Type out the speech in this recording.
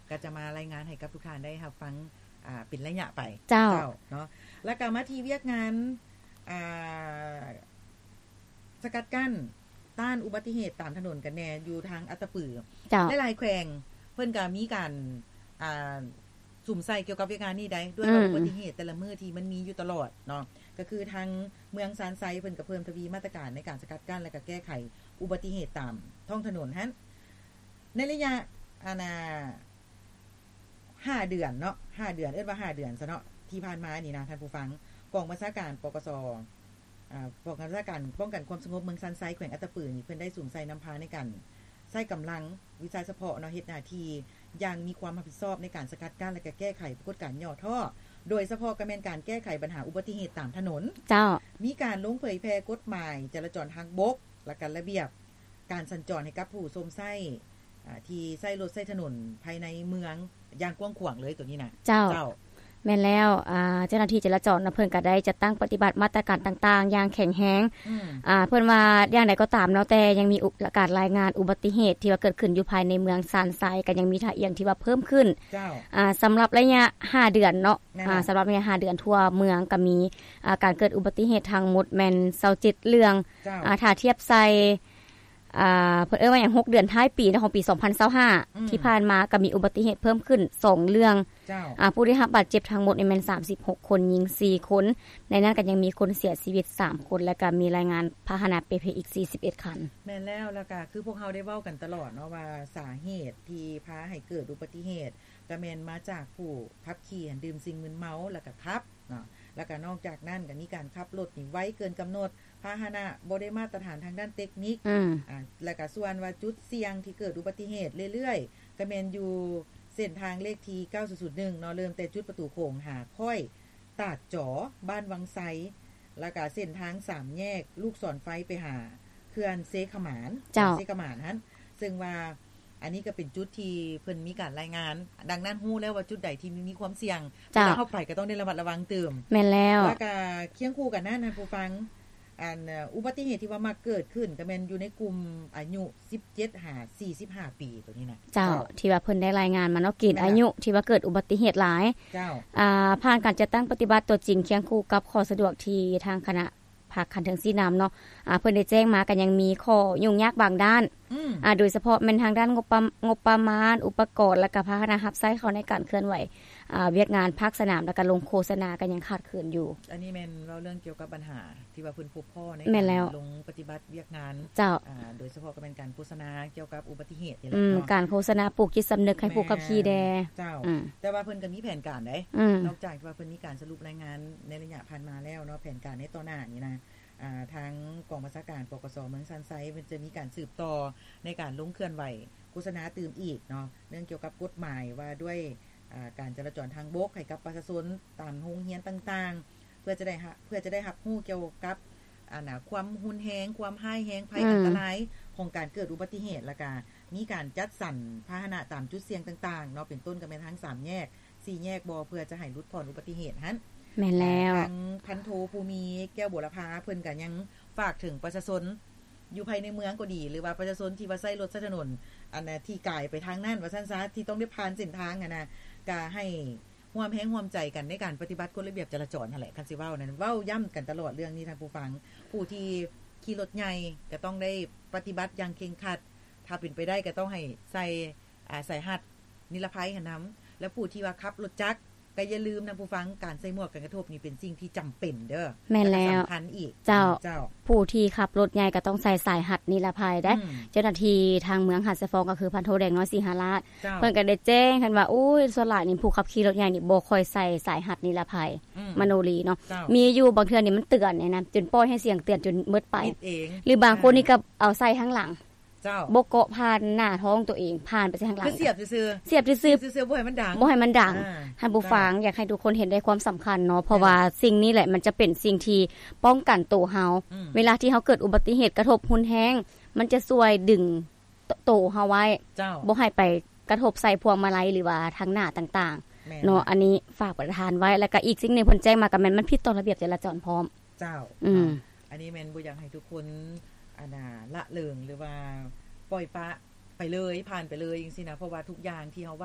ກໍຈະມາລາຍງານໃຫ້ກັບທຸກທ່ານໄດ້ຮັບຟັງ ອ່າ ເປັນໄລຍະໄປ. ເຈົ້າ. ເຈົ້າເນາະ. ແລ້ວກໍມາທີ່ວຽກງານ ອ່າ ສະກັດກັ້ນຕ້ານອຸບັດຕິເຫດຕາມຖະໜົນກັນແດ່ ຢູ່ທາງອັດຕະປື. ເຈົ້າ. ຫຼາຍໆແຂວງເພິ່ນກໍມີການ ອ່າ ສຸມໃສ່ກ່ຽວກັບວຽກງານນີ້ໄດ້ ດ້ວຍວ່າ ອືມ ອຸບັດຕິເຫດແຕ່ລະມື້ທີ່ມັນມີຢູ່ຕະຫຼອດເນາະ ກໍຄືທາງເມືອງຊານໄຊເພິ່ນກໍເພີ່ມທະວີມາດຕະການໃນການສະກັດກັ້ນ ແລະ ກໍແກ້ໄຂອຸບັດຕິເຫດຕາມທ້ອງຖະໜົນຫັ້ນ ໃນໄລຍະ ອັນນ່າ ຫ້າເດືອນເນາະ ຫ້າເດືອນ ເອີ້ນວ່າຫ້າເດືອນຊະເນາະ ທີ່ຜ່ານມານີ້ນະທ່ານຜູ້ຟັງ ກອງບັນຊາການ ປກສ ອາ ກອງບັນຊາການປ້ອງກັນຄວາມສະຫງົບເມືອງຊານໄຊ ແຂວງອັດຕະປືນີ້ ເພິ່ນໄດ້ສຸມໃສ່ນຳພາໃນການໃຊ້ກຳລັງວິຊາສະເພາະເນາະ ເຮັດໜ້າທີ່ຢ່າງມີຄວາມຮັບຜິດຊອບໃນການສະກັດກັ້ນ ແລະ ກະແກ້ໄຂປາກົດການຫຍໍ້ທໍ້ ໂດຍສະເພາະກະແມ່ນການແກ້ໄຂບັນຫາອຸບັດຕິເຫດຕາມຖະໜົນ. ເຈົ້າ. ມີການລົງເຜີຍແຜ່ກົດໝາຍຈະລາຈອນທາງບົກ ແລະ ກະລະບຽບ ການສັນຈອນໃຫ້ກັບຜູ້ຊົມໃຊ້ ອາ ທີ່ໃຊ້ລົດໃຊ້ຖະໜົນພາຍໃນເມືອງຢ່າງກວ້າງຂວາງເລີຍໂຕນີ້ນະ. ເຈົ້າ. ເຈົ້າ. ແມ່ນແລ້ວ ອາ ເຈົ້າໜ້າທີ່ຈະລາຈອນນະ ເພິ່ນກໍໄດ້ຈັດຕັ້ງປະຕິບັດມາດຕະການຕ່າງໆຢ່າງແຂງແຮງ. ອືມ. ອາ ເພິ່ນວ່າຢ່າງໃດກໍຕາມເນາະ ແຕ່ຍັງມີອຸ ການລາຍງານອຸບັດຕິເຫດທີ່ວ່າເກີດຂຶ້ນຢູ່ພາຍໃນເມືອງຊານໄຊ ກໍຍັງມີທ່າອ່ຽງທີ່ວ່າເພີ່ມຂຶ້ນ. ເຈົ້າ. ອາ ສຳລັບໄລຍະຫ້າເດືອນເນາະ. ແມ່ນແລ້ວ. ອາ ສຳລັບໃນຫ້າເດືອນທົ່ວເມືອງກໍມີ ອາ ການເກີດອຸບັດຕິເຫດທັງໝົດແມ່ນຊາວເຈັດເລື່ອງ. ເຈົ້າ. ອາ ຖ້າທຽບໃສ່ ອາ ເພິ່ນເອີ້ນວ່າຫຍັງ ຫົກເດືອນທ້າຍປີເນາະ ຂອງປີສອງພັນຊາວຫ້າ ອືມ ທີ່ຜ່ານມາກໍມີອຸບັດຕິເຫດເພີ່ມຂຶ້ນສອງເລື່ອງ. ເຈົ້າ. ອາ ຜູ້ໄດ້ຮັບບາດເຈັບທັງໝົດນີ້ແມ່ນສາມສິບຫົກຄົນ ຍິງສີ່ຄົນ ໃນນັ້ນກໍຍັງມີຄົນເສຍຊີວິດສາມຄົນ ແລະ ກໍມີລາຍງານພາຫະນະເປ່ເພອີກສີ່ສິບເອັດຄັນ. ແມ່ນແລ້ວ ແລ້ວກໍຄືພວກເຮົາໄດ້ເວົ້າກັນຕະຫຼອດເນາະ ວ່າສາເຫດທີ່ພາໃຫ້ເກີດອຸບັດຕິເຫດ ກໍແມ່ນມາຈາກຜູ້ຂັບຂີ່ຫັ້ນດື່ມສິ່ງມຶນເມົາ ແລ້ວກໍຂັບເນາະ ແລ້ວກໍນອກຈາກນັ້ນກໍມີການຂັບລົດນີ້ໄວເກີນກຳນົດ ພາຫະນະບໍ່ໄດ້ມາດຕະຖານທາງດ້ານເຕັກນິກ ອືມ ອາ ແລ້ວກໍສ່ວນວ່າຈຸດສ່ຽງທີ່ເກີດອຸບັດຕິເຫດເລື້ອຍໆ ກໍແມ່ນຢູ່ເສັ້ນທາງເລກທີເກົ້າສູນສູນໜຶ່ງເນາະ ເລີ່ມແຕ່ຈຸດປະຕູໂຂງຫາຄ້ອຍ ຕາດຈໍ ບ້ານວັງໄຊ ແລ້ວກະເສັ້ນທາງສາມແຍກລູກສອນໄຟໄປຫາເຂື່ອນເຊຂະໝານ ເຈົ້າ ເຂື່ອນເຊຂະໝານຫັ້ນ ເຊິ່ງວ່າອັນນີ້ກໍເປັນຈຸດທີ່ເພິ່ນມີການລາຍງານ ດັ່ງນັ້ນຮູ້ແລ້ວວ່າຈຸດໃດທີ່ມີ ມີຄວາມສ່ຽງ ເຈົ້າ ເວລາເຮົາໄປກໍຕ້ອງໄດ້ລະມັດລະວັງຕື່ມ. ແມ່ນແລ້ວ. ແລ້ວກະຄຽງຄູ່ກັນນັ້ນ ທ່ານຜູ້ຟັງ ອັນ ອຸບັດຕິເຫດທີ່ວ່າມັກເກີດຂຶ້ນກໍແມ່ນຢູ່ໃນກຸ່ມອາຍຸສິບເຈັດຫາສີ່ສິບຫ້າປີໂຕນີ້ນະ ເຈົ້າ ເຈົ້າ ທີ່ວ່າເພິ່ນໄດ້ລາຍງານມາເນາະ ເກນອາຍຸທີ່ວ່າເກີດອຸບັດຕິເຫດຫຼາຍ ເຈົ້າ ອາ ຜ່ານການຈັດຕັ້ງປະຕິບັດຕົວຈິງຄຽງຄູ່ກັບຂໍ້ສະດວກທີ່ທາງຄະນະພັກຂັ້ນເທິງຊີ້ນຳເນາະ ອາ ເພິ່ນໄດ້ແຈ້ງມາ ກໍຍັງມີຂໍ້ຫຍຸ້ງຍາກບາງດ້ານ ອືມ ອາ ໂດຍສະເພາະແມ່ນທາງດ້ານງົບປະ ງົບປະມານ ອຸປະກອນ ແລະກະພາຫະນະຮັບໃຊ້ເຂົ້າໃນການເຄື່ອນໄຫວ ອາ ວຽກງານພາກສະໜາມ ແລະກະລົງໂຄສະນາກໍຍັງຂາດເຂີນຢູ່. ອັນນີ້ແມ່ນເວົ້າເລື່ອງກ່ຽວກັບບັນຫາ ທີ່ວ່າເພິ່ນພົບພໍ້ໃນ ແມ່ນແລ້ວ ການລົງປະຕິບັດວຽກງານ ເຈົ້າ ອາ ໂດຍສະເພາະກໍແມ່ນການໂຄສະນາກ່ຽວກັບອຸບັດຕິເຫດນີ້ແຫຼະ ອືມ ເນາະ ການໂຄສະນາປູກຈິດສຳນຶກໃຫ້ຜູ້ຂັບຂີ່ແດ່ ແມ່ນ ເຈົ້າ ອືມ ແຕ່ວ່າເພິ່ນກໍມີແຜນການໃດ໋ ອືມ ນອກຈາກທີ່ວ່າເພິ່ນມີການສະຫຼຸບລາຍງານໃນໄລຍະຜ່ານມາແລ້ວເນາະ ແຜນການໃນຕໍ່ໜ້ານີ້ນະ ອາ ທາງກອງບັນຊາການ ປກສ ເມືອງຊານໄຊ ເພິ່ນຈະມີການສືບຕໍ່ໃນການລົງເຄື່ອນໄຫວໂຄສະນາຕື່ມອີກເນາະ ເລື່ອງກ່ຽວກັບກົດໝາຍວ່າດ້ວຍ ອາ ການຈະລາຈອນທາງບົກໃຫ້ກັບປະຊາຊົນຕາມໂຮງຮຽນຕ່າງໆ ເພື່ອຈະໄດ້ ເພື່ອຈະໄດ້ຮັບຮູ້ກ່ຽວກັບ ອັນນະ ຄວາມຮຸນແຮງ ຄວາມຮ້າຍແຮງ ໄພ ອືມ ອັນຕະລາຍຂອງການເກີດອຸບັດຕິເຫດ ແລ້ວກະມີການຈັດສັນພາຫະນະຕາມຈຸດສ່ຽງຕ່າງໆເນາະ ເປັນຕົ້ນກໍແມ່ນທາງສາມແຍກ ສີ່ແຍກບໍ່ ເພື່ອຈະໃຫ້ຫຼຸດຜ່ອນອຸບັດຕິເຫດຫັ້ນ. ແມ່ນແລ້ວ ທາງພັນໂທ ພູມີ ແກ້ວບົວລະພາ ເພິ່ນກໍຍັງຝາກເຖິງປະຊາຊົນ ຢູ່ພາຍໃນເມືອງກໍດີ ຫຼືວ່າປະຊາຊົນທີ່ວ່າໃຊ້ລົດໃຊ້ຖະໜົນ ອັນນະ ທີ່ກາຍໄປທາງນັ້ນວ່າຊັ້ນຊະ ທີ່ຕ້ອງໄດ້ຜ່ານເສັ້ນທາງຫັ້ນນະ ກະໃຫ້ຮ່ວມແຮງຮ່ວມໃຈກັນໃນການປະຕິບັດກົດລະບຽບຈະລາຈອນຫັ້ນແຫຼະ ຄັນຊິເວົ້ານັ້ນ ເວົ້າຢ້ຳກັນຕະຫຼອດເລື່ອງນີ້ທ່ານຜູ້ຟັງ ຜູ້ທີ່ຂີ່ລົດໃຫຍ່ກະຕ້ອງໄດ້ປະຕິບັດຢ່າງເຄັ່ງຄັດ ຖ້າເປັນໄປໄດ້ກະຕ້ອງໃຫ້ໃສ່ ອາ ສາຍຮັດນິລະໄພຫັ້ນນຳ ແລະຜູ້ທີ່ວ່າຂັບລົດຈັກ ກໍຢ່າລືມນະຜູ້ຟັງ ການໃສ່ໝວກກັນກະທົບນີ້ເປັນສິ່ງທີ່ຈຳເປັນເດີ້ ແມ່ນແລ້ວ ແລະກໍສຳຄັນອີກ ເຈົ້າ ເຈົ້າ ຜູ້ທີ່ຂັບລົດໃຫຍ່ກໍຕ້ອງໃສ່ສາຍຮັດນິລະໄພໄດ໋ ອືມ ເຈົ້າໜ້າທີ່ທາງເມືອງຫາດຊາຍຟອງ ກໍຄືພັນໂທ ແດງນ້ອຍ ສີຫາລາດ ເຈົ້າ ເພິ່ນກໍໄດ້ແຈ້ງກັນວ່າ ໂອ້ຍ ສ່ວນຫຼາຍນີ້ຜູ້ຂັບຂີ່ລົດໃຫຍ່ນີ້ບໍ່ຄ່ອຍໃສ່ສາຍຮັດນິລະໄພ ອືມ ມະໂນລີເນາະ ເຈົ້າ ມີຢູ່ບາງເທື່ອນີ້ມັນເຕືອນນີ້ນະ ຈົນປ່ອຍໃຫ້ສຽງເຕືອນຈົນໝົດໄປ ປິດເອງ ຫຼືບາງຄົນນີ້ກໍເອົາໃສ່ທາງຫຼັງ ເຈົ້າ ບໍ່ເກາະຜ່ານໜ້າທ້ອງຕົວເອງ ຜ່ານໄປທາງຫຼັງ ຄືສຽບຊື່ໆ ສຽບຊື່ໆ ສຽບຊື່ໆ ບໍ່ໃຫ້ມັນດັງ ບໍ່ໃຫ້ມັນດັງ ອາ ທ່ານຜູ້ຟັງ ເຈົ້າ ຢາກໃຫ້ທຸກຄົນເຫັນໄດ້ຄວາມສຳຄັນເນາະ ເພາະວ່າ ແມ່ນ ສິ່ງນີ້ແຫຼະ ມັນຈະເປັນສິ່ງທີ່ປ້ອງກັນໂຕເຮົາ ອືມ ເວລາທີ່ເຮົາເກີດອຸບັດຕິເຫດກະທົບຮຸນແຮງ ມັນຈະຊ່ວຍດຶງໂຕ ໂຕເຮົາໄວ້ ເຈົ້າ ບໍ່ໃຫ້ໄປກະທົບໃສ່ພວງມາໄລ ຫຼືວ່າທາງໜ້າຕ່າງໆ ແມ່ນ ເນາະ ອັນນີ້ຝາກປະທານໄວ້ ແລ້ວກະອີກສິ່ງໜຶ່ງເພິ່ນແຈ້ງມາ ກະແມ່ນມັນຜິດຕໍ່ລະບຽບຈະລາຈອນພ້ອມ ເຈົ້າ ອືມ ເນາະ ອັນນີ້ແມ່ນບໍ່ຢາກໃຫ້ທຸກຄົນ ອັນນ່າ ລະເລີງ ຫຼືວ່າປ່ອຍປະໄປເລີຍ ຜ່ານໄປເລີຍຈັ່ງຊີ້ນະ ເພາະວ່າທຸກຢ່າງທີ່ເຮົາ